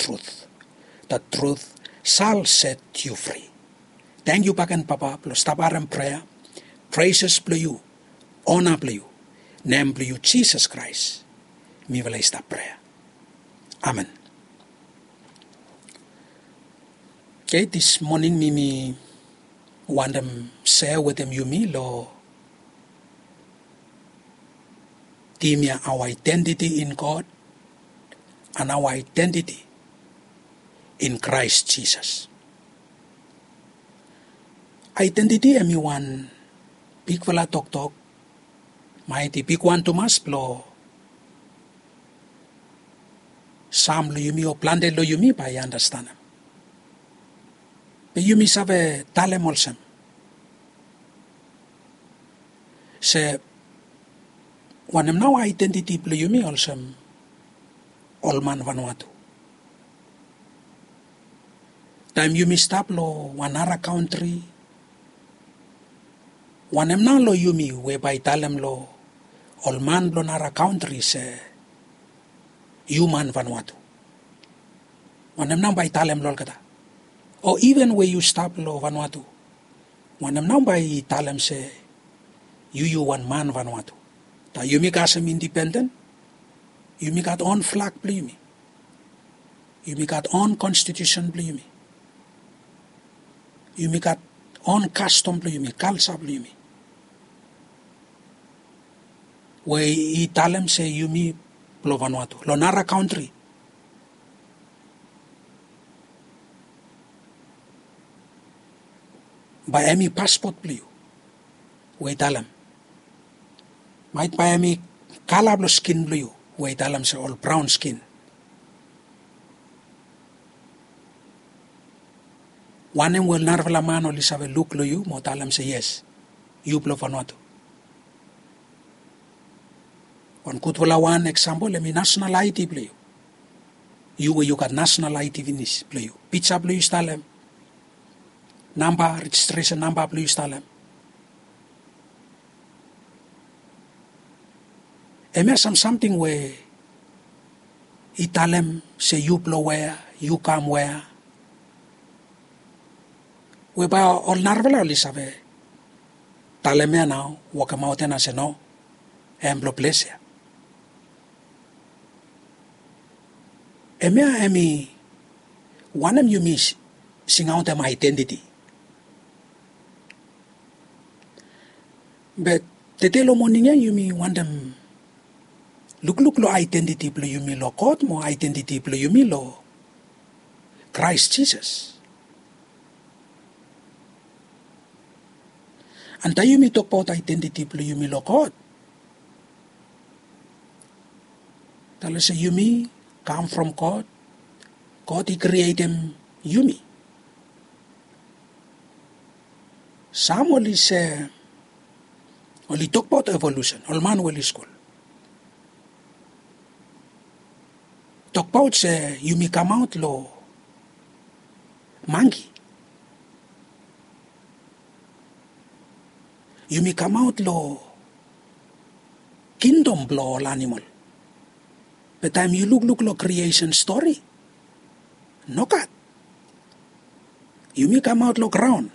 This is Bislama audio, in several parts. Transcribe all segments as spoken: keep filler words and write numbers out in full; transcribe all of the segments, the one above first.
truth. The truth shall set you free. Tangkiu bakegen Papa blong stap harem prea, preses blong yu, ona blong yu, nem blong yu Jisas Kraes. Mifala i stap prea. Amen. Oke, dis moning mi mi wantem sea wetem yumi long tim ya, our identity in God and our identity in Christ Jesus. Identity hemi wan bigfala toktok, maet i bigwan tumas blong sam long yumi o plante long yumi bae i anastenem. Be yumi save talem olsem se wanem nao aedentiti blong yumi olsem ol man Vanuatu? Taem yumi stap long wan nara kantri, wanem nao long yumi we bae i talem long ol man blong nara kantri se yu man Vanuatu? Wanem nao bae i talem long olgeta? O iven we yu stap long Vanuatu, wanem nao bae i talem se yu yu wan man Vanuatu? Taem yumi kasem indipenden, yumi gat on flag blong yumi. Yumi gat on konstitusen blong yumi. Yumi gat on kastom blong yumi, kalja blong yumi, we i talem se yumi blong Vanuatu. Long nara kantri bae hemi paspot blong yu we i talem. Maet bae hemi kala blong skin blong yu we i talem se ol braon skin. Wanem we ol narafala man oli save luk long yu mo talem se yes, yu blong Vanuatu? Wan gudfala wan eksampol hemi nasonal aedi blong yu. Yu we yu gat nasonal aedi finis blong yu, pija blong yu i stap long hem, namba, rejistresen namba blong yu i stap long hem. Hemia sam samting we i talem se yu blong wea, yu kam wea, we bae ol narafala oli save talem ya nao, wokemaot ya nao se no, hem blong ples ya. Hemia hemi wanem yumi singaotem aedentiti. Be tede long moning ya yumi wantem lukluk long aedentiti blong yumi long God mo aedentiti blong yumi long Kraes Jisas. An taem yumi tokbaot aedentiti blong yumi long God, talem se yumi kam from God. God i krietem yumi. Sam oli se, oli tokbaot evolusen, ol man we oli skul tokbaot se yumi kamaot long mangki. Yumi kamaot long kingdom blong ol anamol. Be taem yu lukluk long kriesen stori, nogat. Yumi kamaot long graon.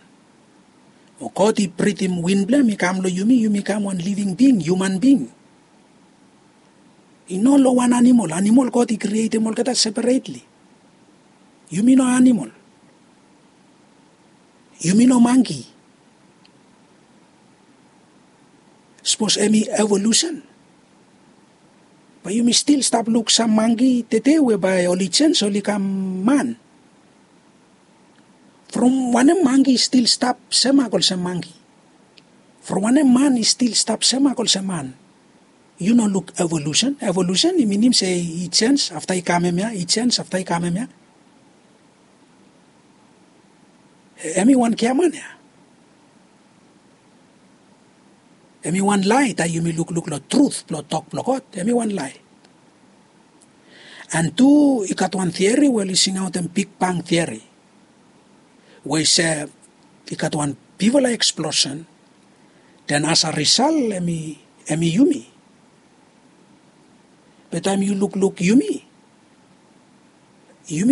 Mo God i britim win blong hem i kam long yumi, yumi kam wan living being, human being. I no long wan anamol. Anamol God i krietem olgeta separetli. Yumi no anamol. Yumi no mangki. Sapos hemi evolusen, bae yumi stil stap luk sam mangki tede we bae oli jens oli kam man. From wanem mangki i stil stap semak olsem mangki? From wanem man i stil stap semak olsem man? Yu no luk evolusen. Evolusen i minim se i jens afta i kam hemia, i jens afta i kam hemia. Hemi wan giaman ya. Hemi wan lae taem yumi lukluk long trut blong tok blong God. Hemi wan lae. An tu i gat wan tiori we oli singaotem Big Bang tiori, we i se i gat wan bigfala eksplosen, den as a risal hemi, hemi yumi. Be taem yu lukluk yumi,